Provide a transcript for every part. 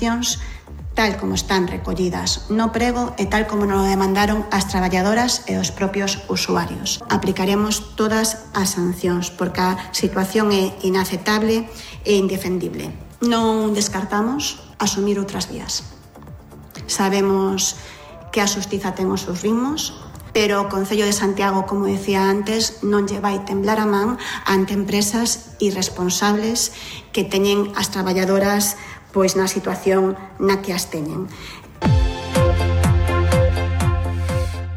sancións tal como están recollidas no prego e tal como nos demandaron as traballadoras e os propios usuarios. Aplicaremos todas as sancións porque a situación é inaceptable e indefendible. Non descartamos asumir outras vías. Sabemos que a xustiza ten os seus ritmos, pero o Concello de Santiago, como decía antes, non lle vai temblar a man ante empresas irresponsables que teñen as traballadoras pois na situación na que as teñen.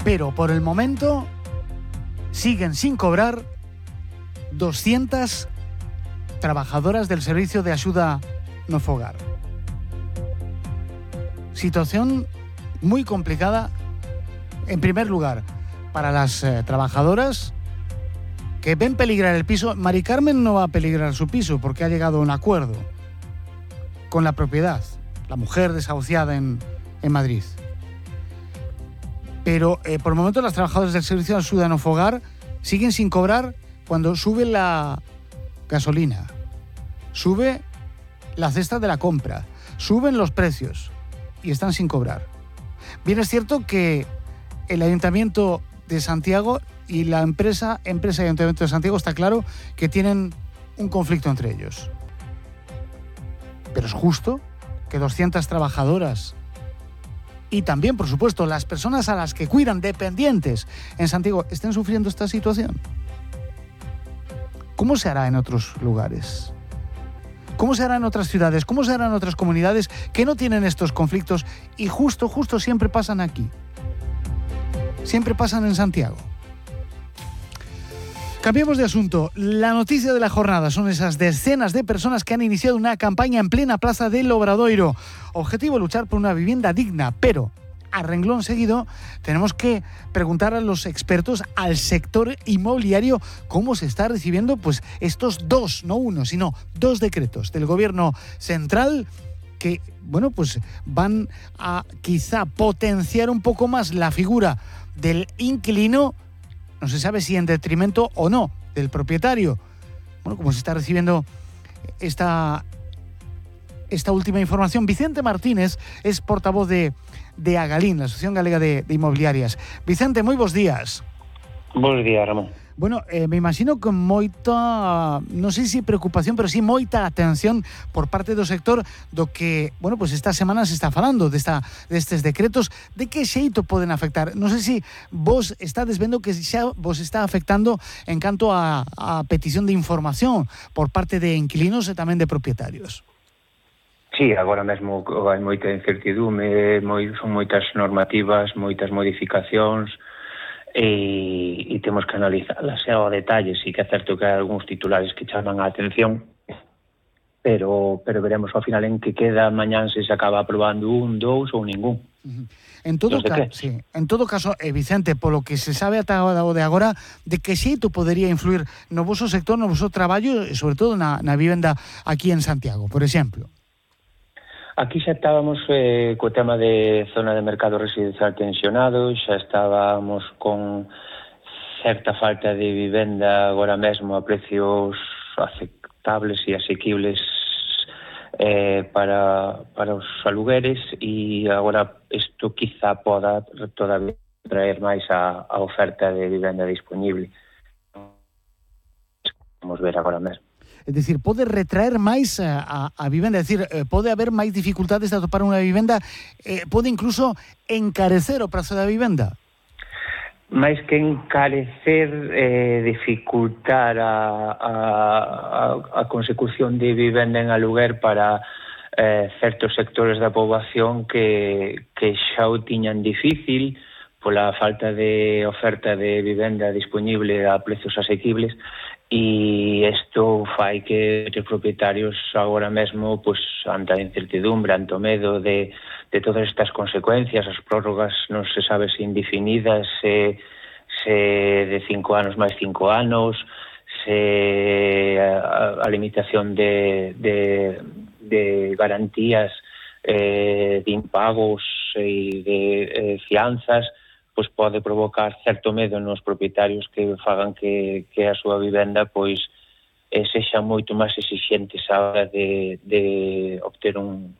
Pero por el momento siguen sin cobrar 200 trabajadoras del Servicio de Axuda no Fogar. Situación muy complicada, en primer lugar, para las trabajadoras que ven peligrar el piso. Mari Carmen no va a peligrar su piso porque ha llegado a un acuerdo con la propiedad, la mujer desahuciada en Madrid. Pero por el momento las trabajadoras del Servicio de Axuda no Fogar siguen sin cobrar cuando sube la gasolina, sube la cesta de la compra, suben los precios y están sin cobrar. Bien, es cierto que el Ayuntamiento de Santiago y la empresa y Ayuntamiento de Santiago está claro que tienen un conflicto entre ellos. Pero es justo que 200 trabajadoras y también, por supuesto, las personas a las que cuidan, dependientes en Santiago, estén sufriendo esta situación. ¿Cómo se hará en otros lugares? ¿Cómo se hará en otras ciudades? ¿Cómo se hará en otras comunidades que no tienen estos conflictos y justo siempre pasan aquí? Siempre pasan en Santiago. Cambiemos de asunto. La noticia de la jornada son esas decenas de personas que han iniciado una campaña en plena plaza del Obradoiro. Objetivo: luchar por una vivienda digna, pero a renglón seguido tenemos que preguntar a los expertos, al sector inmobiliario, cómo se está recibiendo pues estos dos, no uno, sino dos decretos del Gobierno central que, bueno, pues van a quizá potenciar un poco más la figura del inquilino. No se sabe si en detrimento o no del propietario. Bueno, como se está recibiendo esta última información. Vicente Martínez es portavoz de Agalín, la Asociación Galega de Inmobiliarias. Vicente, moi bons días. Bons días, Ramón. Bueno, me imagino con moita, non sei se preocupación, pero sí moita atención por parte do sector do que, bueno, pues esta semana se está falando destes decretos, de que xeito poden afectar. Non sei se vos estades vendo que xa vos está afectando en canto a petición de información por parte de inquilinos e tamén de propietarios. Sí, agora mesmo hai moita incertidume, son moitas normativas, moitas modificacións, e temos que analizarlas ao detalle. Sí que é certo que hai algúns titulares que chaman a atención, pero veremos ao final en que queda mañán, se acaba aprobando un, dous ou ningún. En todo caso, Vicente, polo que se sabe ata o de agora, de que xeito podería influir no voso sector, no voso traballo e sobre todo na vivenda aquí en Santiago, por exemplo? Aquí xa estábamos co tema de zona de mercado residencial tensionado, xa estábamos con certa falta de vivenda agora mesmo a precios aceptables e asequibles para os alugueres, e agora isto quizá poda todavía traer máis a oferta de vivenda disponible. Vamos ver agora mesmo. É dicir, pode retraer máis a vivenda, é dicir, pode haber máis dificultades de atopar unha vivenda, pode incluso encarecer o prazo da vivenda? Máis que encarecer, dificultar a consecución de vivenda en aluguer para certos sectores da poboación que xa o tiñan difícil pola falta de oferta de vivenda disponible a precios asequibles. E isto fai que os propietarios agora mesmo, pues, ante a incertidumbre, ante o medo de todas estas consecuencias, as prórrogas non se sabe se indefinidas, se de 5 anos máis 5 anos, se a limitación de garantías de impagos e de fianzas, pois pode provocar certo medo nos propietarios que fagan que a súa vivenda pois sexa moito máis exixentes a hora de obter un